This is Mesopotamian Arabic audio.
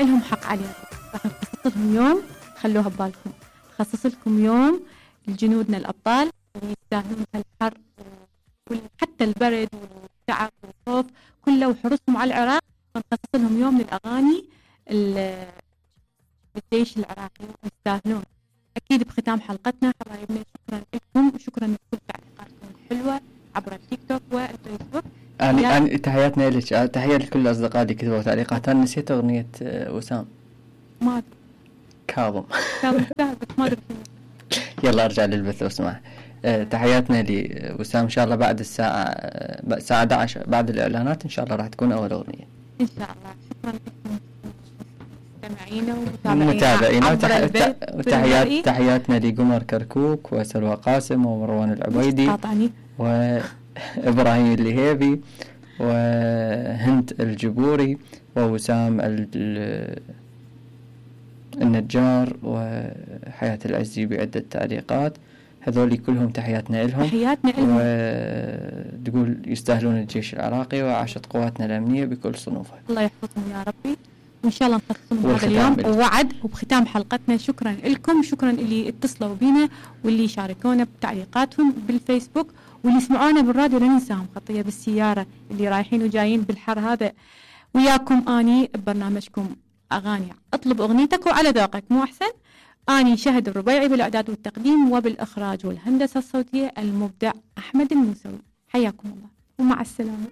لهم حق علينا، راح نخصص لهم يوم، خلوها ببالكم، نخصص لكم يوم لجنودنا الأبطال اللي يستاهلون هالحر وحتى البرد والتعب والخوف كله وحرصهم على العراق، نخصص لهم يوم للأغاني الجيش العراقي يستاهلون. أكيد بختام حلقتنا حبايبنا شكرا لكم وشكرا لكل تعليقاتكم الحلوة عبر التيك توك والفيسبوك. أنا تحياتنا لك، تحية لكل الأصدقاء اللي كتبوا تعليقات. أنا نسيت أغنية وسام ما كاظم ما أدري. يلا أرجع للبث لو سمحت. تحياتنا لوسام، إن شاء الله بعد الساعة 11 بعد الإعلانات إن شاء الله راح تكون أول أغنية إن شاء الله. شكرا لكم متابعينا وتحياتنا لقمر كركوك وسلوى قاسم ومروان العبيدي وإبراهيم اللهيبي وهند الجبوري ووسام النجار وحياة العزي بعدة تعليقات. هذول كلهم تحياتنا لهم وتقول يستاهلون الجيش العراقي وعاشت قواتنا الأمنية بكل صنوفها. الله يحفظهم يا ربي، وإن شاء الله نخصصهم هذا اليوم ووعد. وبختام حلقتنا شكرا لكم، شكرا اللي اتصلوا بينا واللي شاركونا بتعليقاتهم بالفيسبوك واللي يسمعونا بالراديو. لا ننساهم خطية بالسيارة اللي رايحين وجايين بالحر هذا. وياكم أني ببرنامجكم أغاني اطلب أغنيتك وعلى ذوقك مو أحسن. أني شهد الربيعي بالإعداد والتقديم وبالإخراج والهندسة الصوتية المبدع أحمد الموسوي. حياكم الله ومع السلامة.